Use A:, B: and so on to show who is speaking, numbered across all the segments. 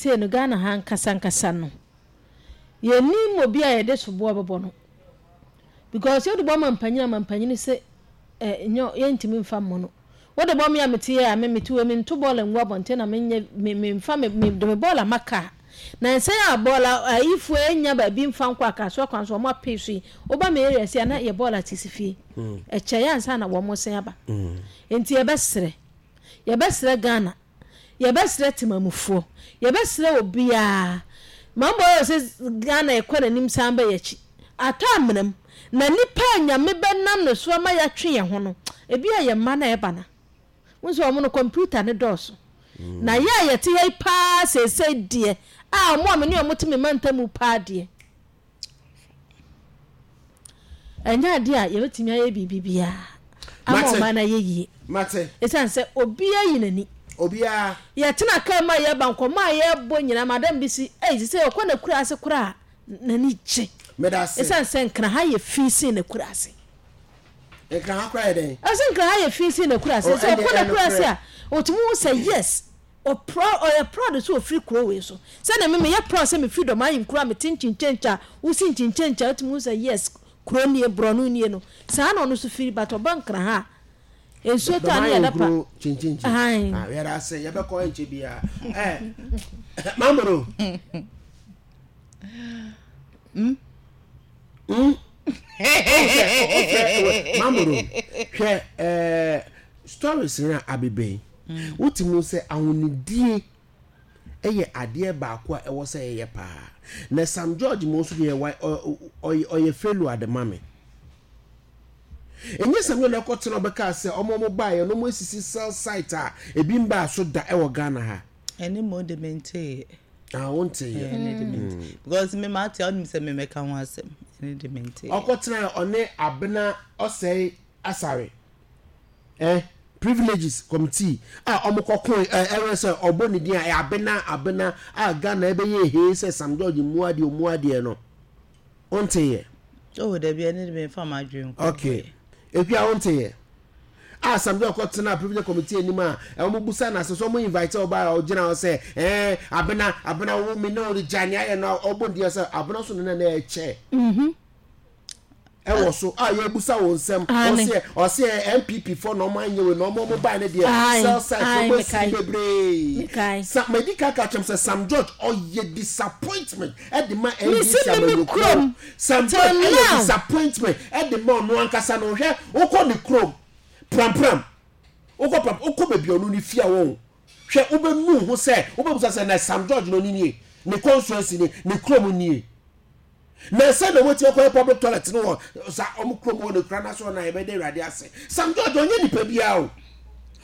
A: Seesei no Ghana ha ankasa ankasa no yɛnnim obi a yɛde soboɔ bɛbɔ no because wode bɔ mampanin a mampanin se eh, nyɛ yɛntumi mfa mmɔ no. Wode bɔ me a mete yɛ a me mete wei mento bɔɔla ngu abɔnten na menyɛ me memfa me me de me bɔɔla ma kaa. Na nsɛn a bɔɔla ayifoɔ anya baabi mfa nkɔ akasoa kwan so wɔn apee so yi woba me area sei a na yɛ bɔɔla te si fie. Ɛkyɛeɛ ansa na wɔn san aba. Nti yɛbɛsrɛ yɛbɛsrɛ Ghana Yɛbɛsrɛ temamufoɔ, yɛbɛsrɛ obiara, Mambo ayɛ sɛ Ghana ɛkɔ n'anim san ba yɛakyi, atɔ amena mu, na nipa a Nyame bɛnam ne so ama yɛatwe yɛn ho no, ebi a yɛn mma na ɛba no, wohu sɛ wɔn no kɔmputa no dɔɔso, na yɛ a yɛte ha yi paa seesei deɛ, a wɔn a me ne wɔn te me mantam paa deɛ, Ɛnyɛ adeɛ a yɛbɛtumi ayɛ biribi biara ama ɔman no ayɛ yie. Ɛsiane sɛ obiara yi n'ani.
B: Obiara.
A: Yɛtena kaa mu a yɛba nkɔmmɔ a yɛbɔ nyinaa madam bi si ei sɛ ɔkɔ n'akura ase koraa n'ani gye. Ɛsiane sɛ Nkraha yɛ fi sen n'akura ase.
B: Nkraha koraa yɛ dɛn?
A: Ɛsɛ Nkraha yɛ fi sen n'akura ase. Sɛ ɔkɔ n'akura ase a ɔtumi hu sɛ yes Ɔproud ɔyɛ proud sɛ ɔfiri kuro wei so. Sɛdeɛ me meyɛ proud sɛ mefiri dɔm ahenkuro a mete nkyinkyenkye a wosi nkyinkyenkye a wotumi hu sɛ yes kuro nie borɔno nie no saa na ɔno nso firi but ɔba Nkran ha a nsuo tɔ a ne yɛda pa
B: Dɔm ahenkuro kyinkyinkyin.
A: Ae.
B: Ah, yɛda ase yɛbɛkɔ ɛnkyɛ biara. Eh, Mamoro.
C: Mm?
B: Mm? Oh, sɛ, oh, Mamoro, hwɛ, eh, stories no a abebɛn. Wote mu sɛ ahonidie yɛ adeɛ baako a ɛwɔ sɛ yɛyɛ paa. Na Sam George mo nso deɛ ɔyɛ failure de ma me. Ɛnyɛ Sam George na ɛkɔtena ɔbɛka sɛ ɔmo ɔmo baeɛ no ɔmo asisi cell site a ebi mbaa so da ɛwɔ Ghana ha.
C: Ɛne mo de menteeɛ.
B: Ah, wonteeɛ.
C: Ɛne de mente. Because me mate a wonim sɛ me mɛka ho asɛm. Ɛne de menteeɛ.
B: Ɔkɔtena ɔne Abena Ɔsɛe Asare. Eh, privileges committee a ɔmo kɔ koe eh, ɛwɛ sɛ ɔbɔ ne din a ɛyɛ abena abena a Ghana ɛbɛyɛ ehee sɛ Sam George mmu adeɛ ɔmmu adeɛ no wonteeɛ?
C: Oh dabi ɛne de memfa m'adwene nkɔ
B: Okay Ekua wonteeɛ? A Sam George kɔ tenaa privilege committee anim a ɔmo busa no asɛm sɛ ɔmo invite ɔbaa a ɔgyina hɔ sɛ eh abena abena wo me ne wo gyae nea ayɛ no a ɔbɔ ne din sɛ abena so ne na na ɛkyɛ. Ɛwɔ so a yɛbusa wɔn nsɛm ɔseɛ ɔseɛ NPP fɔ na ɔmo anyɛ wei na ɔmo ɔmo bae ne deɛ cell site na ɔmo asi bebree sa madi ka ka kyɛm sɛ Sam George ɔyɛ disappointment ɛde ma NDC amanyɔkuo Sam George ɛyɛ disappointment ɛde ma ɔno ankasa no hwɛ wokɔ ne kurom prampram wokɔ pram wokɔ baabi ɔno ne fie a wɔn hwɛ wobɛnu ho sɛ wobɛbusa sɛ na Sam George no nie ne constituency ne ne kurom nie. Na sɛ na wɔatumi akɔyɛ public toilet no wɔ sa wɔn kurom hɔ no kura n'aso na yɛbɛda awurade ase. Sam George ɔnyɛ nipa biara o.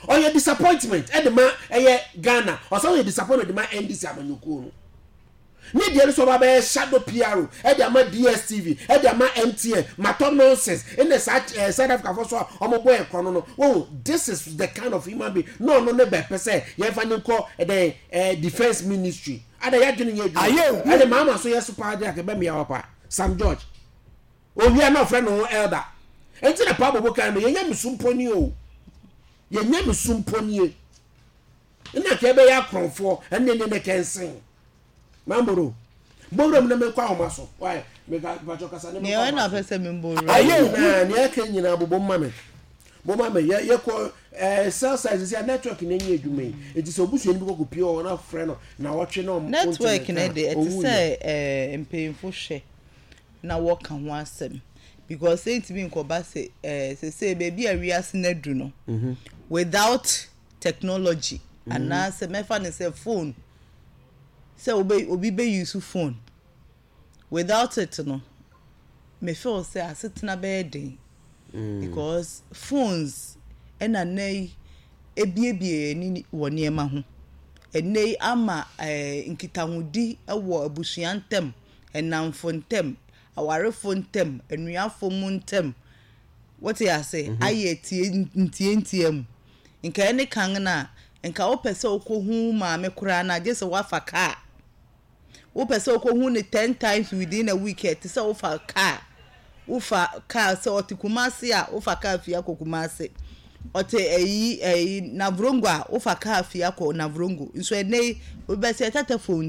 B: Ɔyɛ disappointment ɛde ma ɛyɛ Ghana. Ɔsan yɛ disappointment de ma NDC amanyɔkuo no. Ne deɛ no sɛ ɔba bɛyɛ shadow PRO ɛde ama DSTV ɛde ama MTN matɔ nonsense ɛna saa ɛɛ South Africa fo so a wɔn bɔ ɛkorɔ no no. Wɔn this is the kind of human being na ɔno ne bɛpɛ sɛ yɛnfa ne nkɔ ɛdɛn ɛɛ defence ministry. Ada yadwene nyɛ adwuma.
D: Ayɛ hu.
B: Ɛde maama so yɛ so paa de anka ɛbɛmea wa paa. Sam George. Owia na ɔfrɛ ne ho elder. Enti na paa bobo kan no yɛnyɛ me so mpo nie o. Yɛnyɛ me so mpo nie. Nna nka ɛbɛyɛ akorɔmfoɔ ɛne ne ne kɛnsen. Mamboro. Bowura mu na menkɔ ahoma so. Why? Meka mpakyɛ kasa ne menkɔ
C: Nea
B: ahoma
C: ɛna
B: so.
C: pɛ sɛ membɔ wura
B: Ayɛ
C: mu.
B: nyinaa nea ɛka nyinaa bobɔ ma me. Mo ma me yɛ yɛkɔ ɛɛ cell site sisi a network na enye adwuma yi eti sɛ obusuani bi kɔ kɔ pie hɔ na frɛ no na ɔtwe na ɔmo
C: Network
B: ntumi
C: no
B: nka
C: de ɛte
B: owu
C: sɛ
B: yɛ.
C: ɛɛ mpanyinfo hwɛ na wɔka ho asɛm because ɛntumi nkɔba sɛ ɛɛ sesei baabi a wiase no adu no without technology anaasɛ mɛfa no sɛ phone sɛ obe obi bɛ use phone Without it no me feel sɛ asetena bɛyɛ den because phones ɛna nnɛ yi ebiebie yɛn ani wɔ nneɛma ho. Ɛnnɛ yi ama ɛɛ nkitahodi wɔ abusua ntam, nnamfo ntam, awarefo ntam, anuafo mu ntam, wote ase, ayɛ tie ntiantia mu. Nka ɛne kan no a, nka wopɛ sɛ wokɔhu wo maame koraa no a, gye sɛ woafa kaa. Wopɛ sɛ wokɔhu no 10 times within a week a, ɛte sɛ wofa kaa. Wofa kaa sɛ ɔte Kumasi a, wofa kaa fie akɔ Kumasi. Ɔte ayi ayi Navrongo a, wofa kaa fie akɔ Navrongo. Nso ɛnnɛ yi, obi bɛsɛ tata phone.